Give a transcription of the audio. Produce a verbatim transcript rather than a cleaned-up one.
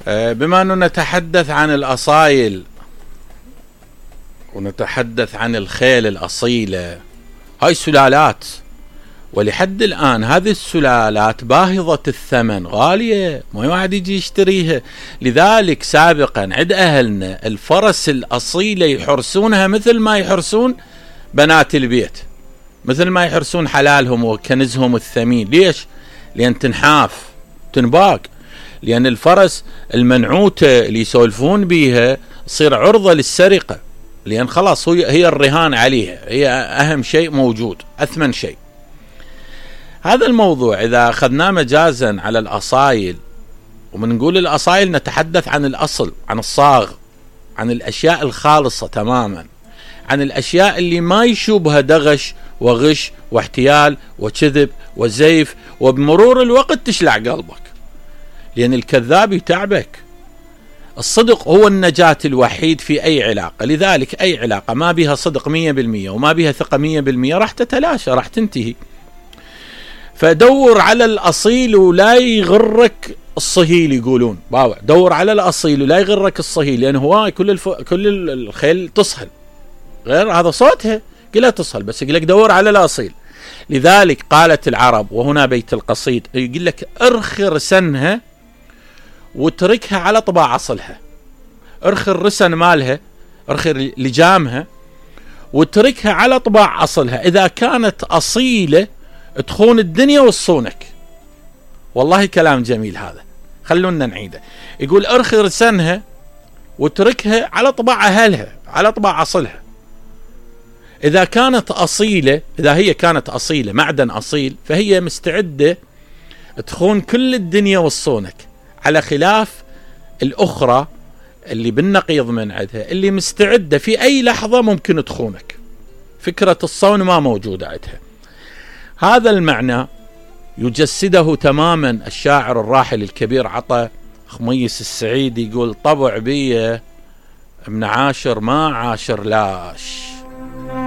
بما أنه نتحدث عن الأصايل ونتحدث عن الخيل الأصيلة، هاي سلالات، ولحد الآن هذه السلالات باهظة الثمن، غالية، ما واحد يجي يشتريها. لذلك سابقا عند أهلنا الفرس الأصيلة يحرسونها مثل ما يحرسون بنات البيت، مثل ما يحرسون حلالهم وكنزهم الثمين. ليش؟ لأن تنحاف تنباق، لأن الفرس المنعوتة اللي يسولفون بيها تصير عرضة للسرقة، لأن خلاص هي الرهان عليها، هي أهم شيء موجود، أثمن شيء. هذا الموضوع إذا أخذناه مجازا على الأصايل، ومن نقول الأصايل نتحدث عن الأصل، عن الصاغ، عن الأشياء الخالصة تماما، عن الأشياء اللي ما يشوبها دغش وغش واحتيال وكذب وزيف، وبمرور الوقت تشلع قلبك، لأن الكذاب يتعبك. الصدق هو النجاة الوحيد في أي علاقة. لذلك أي علاقة ما بها صدق مية بالمية وما بها ثقة مية بالمية راح تتلاشى، راح تنتهي. فدور على الأصيل ولا يغرك الصهيل، يقولون باوع دور على الأصيل ولا يغرك الصهيل، لأن هو كل الف... كل الخيل تصهل، غير هذا صوتها كلها تصهل، بس يقول لك دور على الأصيل. لذلك قالت العرب، وهنا بيت القصيد، يقول لك ارخي رسنها وتركها على طباع أصلها، ارخي الرسن مالها، ارخي لجامها وتركها على طباع أصلها. إذا كانت أصيلة تخون الدنيا والصونك. والله كلام جميل هذا، خلونا نعيده. يقول ارخي رسنها وتركها على طباع أهلها، على طباع أصلها. إذا كانت أصيلة، إذا هي كانت أصيلة، معدن أصيل، فهي مستعدة تخون كل الدنيا والصونك، على خلاف الأخرى اللي بالنقيض من عندها، اللي مستعدة في أي لحظة ممكن تخونك. فكرة الصون ما موجودة عندها. هذا المعنى يجسده تماما الشاعر الراحل الكبير عطا خميس السعيد، يقول طبع بيه من عاشر ما عاشر لاش.